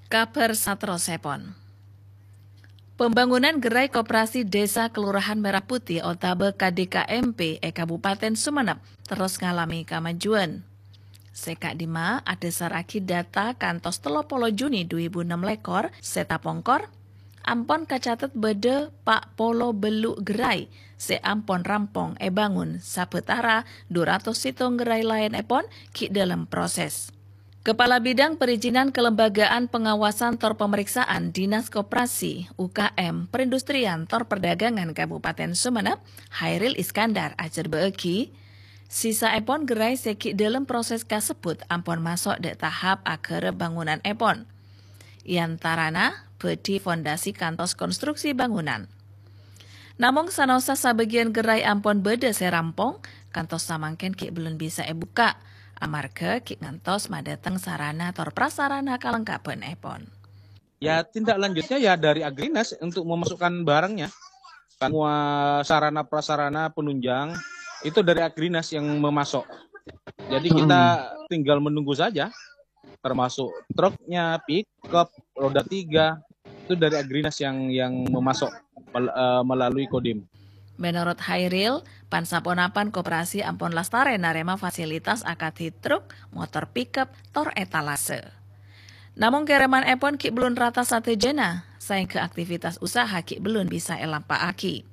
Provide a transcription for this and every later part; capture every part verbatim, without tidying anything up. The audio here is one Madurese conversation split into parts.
Kabhâr saterrossèpon. Pembangunan gerai koperasi Desa Kelurahan Merah Putih otabâ K D K M P è Kabupaten Sumenep terros ngalamè kamajuwân. Sè ka'dimma adhâsarraghi data kantos tello polo Juni dhu èbu ennem lèkor sè tapongkor, ampon kacatet bâdâ pa' polo bâllu' gerai sè ampon rampong èbângon, sabâtara dhu ratos sèttong gerai laènèpon ghi' dhâlem proses. Kepala Bidang Perizinan Kelembagaan Pengawasan tor Pemeriksaan Dinas Koperasi, U K M, Perindustrian tor Perdagangan Kabupaten Sumenep, Hairil Iskandar ajhârbâ'âghi, sisaèpon gerai sè ghi' dhâlem proses kasebbhut ampon maso' dâ' tahap aghârâp bangunanèpon. È antarana bâdhi fondasi kantos konstruksi bangunan. Namong sanaossa sabâgiyân gerai ampon bâdâ sè rampong, kantos samangkèn ghi' bellun bisa èbukka', amarghâ ghi' ngantos madâteng sarana tor prasarana kalengkabhânèpon. Ya, tindak lanjutnya ya dari Agrinas untuk memasukkan barangnya. Semua sarana prasarana penunjang itu dari Agrinas yang memasok. Jadi kita tinggal menunggu saja, termasuk truknya, pickup, roda tiga, itu dari Agrinas yang yang memasok mel- eh, melalui Kodim. Menurut Hairil, pan-saponapan koperasi ampon lastarè narèma fasilitas akadhi truk, motor pickup, tor etalase. Namong kèrèmanèpon ghi' bellun rata sadhâjâna, saèngghâ aktivitas usaha ghi' bellun bisa èlampa'aghi.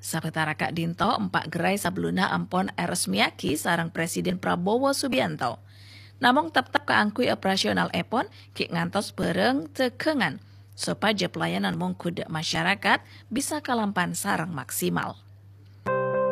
Sabâtara ka'dinto, empa' gerai sabellunna ampon èresmèyaghi sareng Presiden Prabowo Subianto. Namong teptep kaangghuy operasionalèpon ghi' ngantos bhârâng dhâghângan, sopajâ pelayanan mongghu dâ' masyarakat bisa kalampan sareng maksimal.